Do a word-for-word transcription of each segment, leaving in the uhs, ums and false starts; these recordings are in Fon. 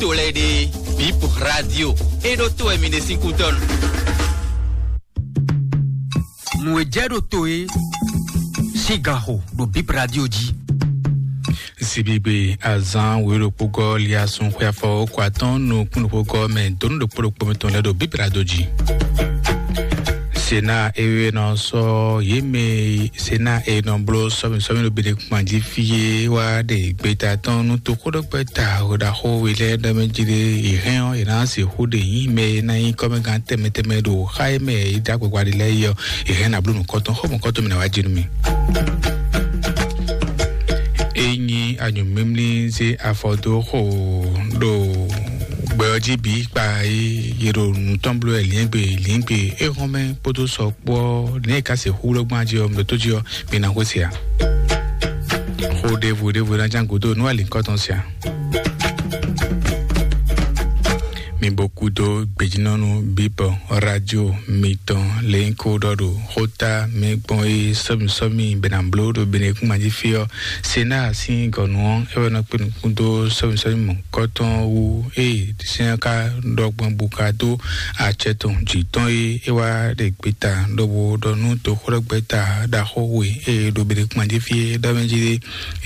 to lɛ́ɛ ɖe, Bip Radio, é ɖó to wɛ mi ɖe sín kútɔ́ nu. Nǔ e jɛ ɖo to e sín gan xo ɖo Bip Radio jí. Sibigbe azán wěɖokpógɔ́ liasun xwe afɔ kɔ atɔ́n nukún ɖokpógɔ́ mɛ donu ɖokpó ɖokpó mɛ tɔn lɛ́ ɖo Bip Radio jí. Sena ewé nɔ sɔ yě mɛ sena e nɔ bló sɔmi sɔmi ɖo Benekuma jí fí é wá ɖe gbeta tɔn nú toxóɖɔgbɛ́ta ɖaxó we lɛ́ɛ ɖɔ mɛ jí ɖé, yě hɛn ɔ́, yě ná sixú ɖe nyí mɛ e ná nyí kɔ́mɛgán tɛnmɛ tɛnmɛ ɖo xá e mɛ yě dó agbagba ɖe lɛ́ɛ yi ɔ́, yě hɛn ná bló nǔkɔntɔn xó mɔ̌kɔntɔn mɛ ná wá jí nú mì. É nyí anyǔmímlí zé afɔ dó xo ɖo gbɛ ɔ́ jí bǐ kpa é yě ɖo nǔ tɔn bló wɛ lǐngbe lǐngbe é hɔn mɛ kpódó sɔ kpó ɔ́, nɛ̌ è ka se xú ɖó gbɔn jí ɔ́, mɛ tó jí ɔ́, mi ná xwé se ǎ. Xó ɖěvo ɖěvo ná ján gǔdo nú alǐkɔ́tɔn se ǎ. Mi bo kúdó gbejínɔ́nú bíbɔ rádio mitɔn lě nyí kó ɖɔ ɖo xóta mɛ gbɔn é sɔ́mi sɔ́mi bɛ ná bló ɖo Benekún mají fí ɔ́. Sena sín gɔ̌nu ɔ́, é wɛ nɔ kpé nukún dó sɔ́mi sɔ́mi mɔ̌kɔtɔn wú ée sɛ́n ɔ́ ka ɖɔ gbɔn bó ka dó acɛ tɔn jǐ tɔn e é wá ɖe gbeta ɖɔhun ɖɔ nú toxóɖɔgbɛ́ta ɖaxó we e ɖo Benekún mají fí é ɖɔ mɛ jí ɖé.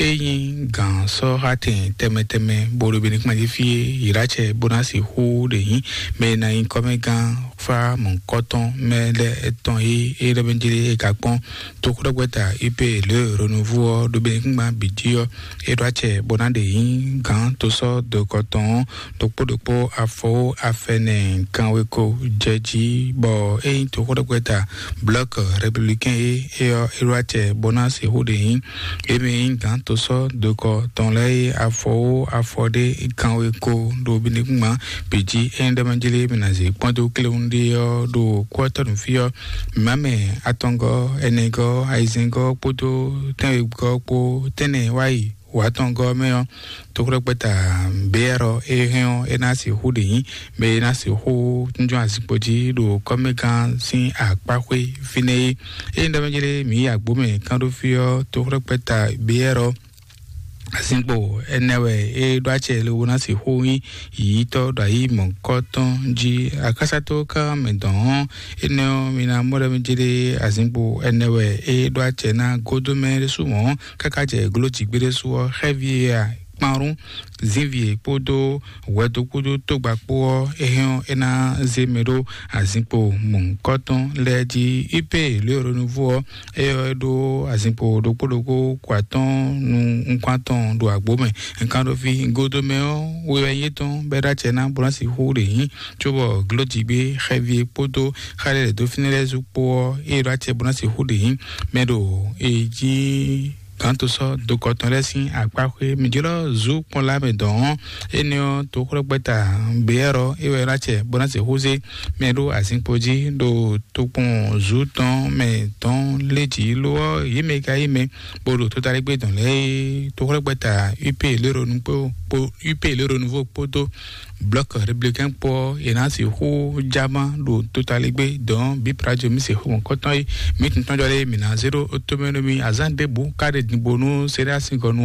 É nyí gǎn sɔ́ xá tɛn tɛnmɛ tɛnmɛ bó ɖo Benekún mají fí é, yě ɖo acɛ bó ná sixú ɖe nyí mɛ e ná nyí kɔ́mɛgán fá mɔ̌kɔtɔn mɛ lɛ́ɛ tɔn e é ɖɔ mɛ jí ɖé é ka kpɔ́n. Toxóɖɔgbɛ́ta U P le Renouveau ɔ́ ɖo Benekún bǐ jí ɔ́, é ɖo acɛ bó ná ɖe nyí gǎn tosɔ́ dokɔ tɔn ɔ́ ɖokpó ɖokpó afɔwó afɛnɛ kanweko jɛ jí, bɔ é nyí toxóɖɔgbɛ́ta Bloc Républicain é é ɔ́, é ɖo acɛ bó ná sixú ɖe nyí. É mɛ nyí gǎn tosɔ́ dokɔ tɔn lɛ́ɛ é afɔwó afɔ ɖé kanweko ɖo Benekún bǐ jí. É nyí ɖɔ mɛ jí lé mɛ ná zě kpɔ́n dó kléwún ɖé ɔ́ ɖo kú ɔ́ tɔ́ nǔ fí ɔ́, mǐmá mɛ atɔngɔ́, ɛnɛgɔ́, ayizɛ́ngɔ́ kpódó tɛ́nwegɔ́ kpó tɛ́nnɛ wá yi wǎtɔngɔ́ mɛ ɔ́, toxóɖɔgbɛ́ta B R ɔ́, é hɛn ɔ́, é ná sixú ɖe nyí mɛ e ná sixú tún jɔ́n azinkpo jí ɖo kɔ́mɛgán sín akpáxwé fínɛ́ é. Ényí ɖɔ mɛ jlé mǐ yi agbǒ mɛ kán ɖó fí ɔ́, toxóɖɔgbɛ́ta B R ɔ́, azinkpo ɛnɛ wɛ é ɖó acɛ lobo ná sixú nyí yiyítɔ́ ɖo ayǐ mɔ̌kɔ́ tɔn jí. Akásátó ká mɛ dɔn ɔ́, énɛ́ ɔ́, mi ná mɔ ɖɔ mɛ jlé azinkpo ɛnɛ wɛ é ɖó acɛ ná gódó mɛ ɖésú mɔ̌. Káká jɛ gló jǐgbéɖésú ɔ́, xɛ́ví e a kpanrún zínvi e kpódó hwɛdo kpódó tógba kpó ɔ́, é hɛn ɔ́, é ná zé mɛ ɖó azinkpo mɔ̌hunkɔtɔn lɛ́ɛ jí. Ipe lě e Renouveau ɔ́, é ɔ́, é ɖó azinkpo ɖokpó ɖokpó kó atɔ́ɔ́n nú nukún atɔn ɖo agbǒ mɛ. Nkanɖoví godomɛ ɔ́, we wɛ nyí étɔn bɔ é ɖó acɛ ná bó ná sixú ɖe nyí, cóbɔ glójigbé xɛví e kpódó xá ɖé lɛ̌ dó fínɛ́ lɛ́ɛ zú kpó ɔ́, é ɖó acɛ bó ná sixú ɖe nyí mɛ ɖo e jí gǎn to sɔ́ dokɔ tɔn lɛ́ɛ sín akpá xwé. Mǐ jlɔ́ zú kpɔ́n lá mɛ dɔn ɔ́, énɛ́ ɔ́, toxóɖɔgbɛ́ta Beyɛ́r ɔ́, é wɛ ná acɛ bó ná sixú zé mɛ ɖó azinkpo jí ɖo tokpɔn zǔ tɔn mɛ tɔn lé jǐ. Lo ɔ́, yě mɛ e ka yí mɛ bó ɖo totalégbé dɔn lɛ́ɛ é, toxóɖɔgbɛ́ta U P léronu kpó U P léronu vo kpódó Blɔ̌k Reblekɛ́n kpó ɔ́, è nǎ sixú já má ɖo totalégbé dɔn bǐ Prajo mǐ sixú mɔ̌kɔtɔn é. Mǐ tun tɔ́n jɔ lé mǐ ná zé ɖó tomɛ nú mì azǎn ɖěbǔ ká ɖe dǐnbó nú Seɖási gɔ́ nú